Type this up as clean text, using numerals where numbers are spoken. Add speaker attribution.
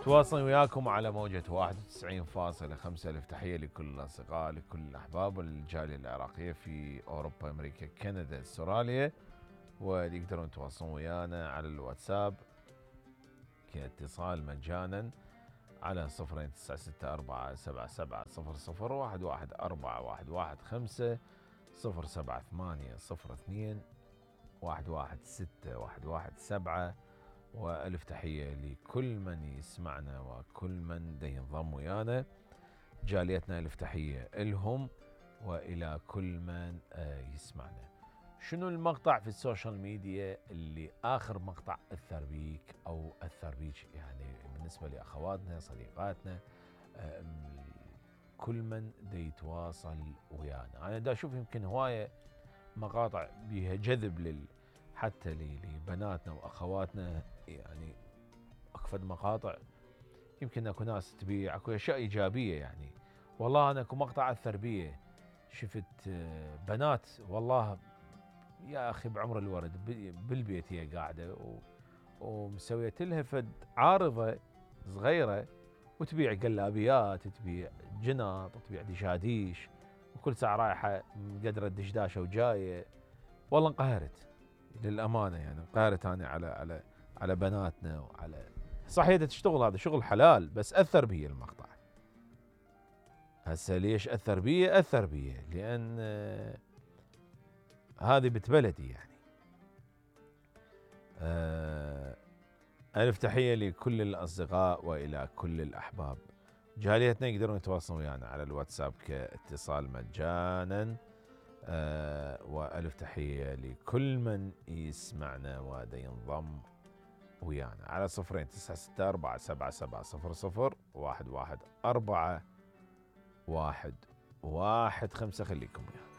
Speaker 1: تواصل وياكم على موجة 91.5. ألف تحية لكل الأصدقاء، لكل الأحباب والجالية العراقية في أوروبا، أمريكا، كندا، أستراليا، واللي يقدرون يتواصلون ويانا على الواتساب كاتصال مجانا على 09964770011415 07802116117. وألف تحية لكل من يسمعنا وكل من ينضم ويانا. جاليتنا ألف تحية إلهم وإلى كل من يسمعنا. شنو المقطع في السوشيال ميديا اللي آخر مقطع أثر بيك أو أثر بيك، يعني بالنسبة لأخواتنا صديقاتنا كل من يتواصل ويانا؟ أنا دا أشوف يمكن هواية مقاطع بيها جذب حتى لبناتنا وأخواتنا، يعني أكفد مقاطع يمكن أكو ناس تبيع، أكو أشياء إيجابية. يعني والله أنا أكو مقطع أثر بيه، شفت بنات والله يا أخي بعمر الورد بالبيت هي قاعدة ومسويت لها فد عارضة صغيرة وتبيع قلابيات، تبيع جنط، تبيع دشاديش، وكل ساعة رايحة مقدرة دشداشة وجاية. والله انقهرت للأمانة، يعني انقهرت أنا على بناتنا وعلى صحيح تشتغل، هذا شغل حلال، بس أثر بي المقطع. هسه ليش أثر بي؟ أثر بي لأن هذه بنت بلدي يعني. ألف تحية لكل الأصدقاء وإلى كل الأحباب. جاليتنا يقدرون يتواصلون ويانا على الواتساب كاتصال مجانا. وألف تحية لكل من يسمعنا ودا ينضم ويانا على 09647770011415. خليكم ويانا.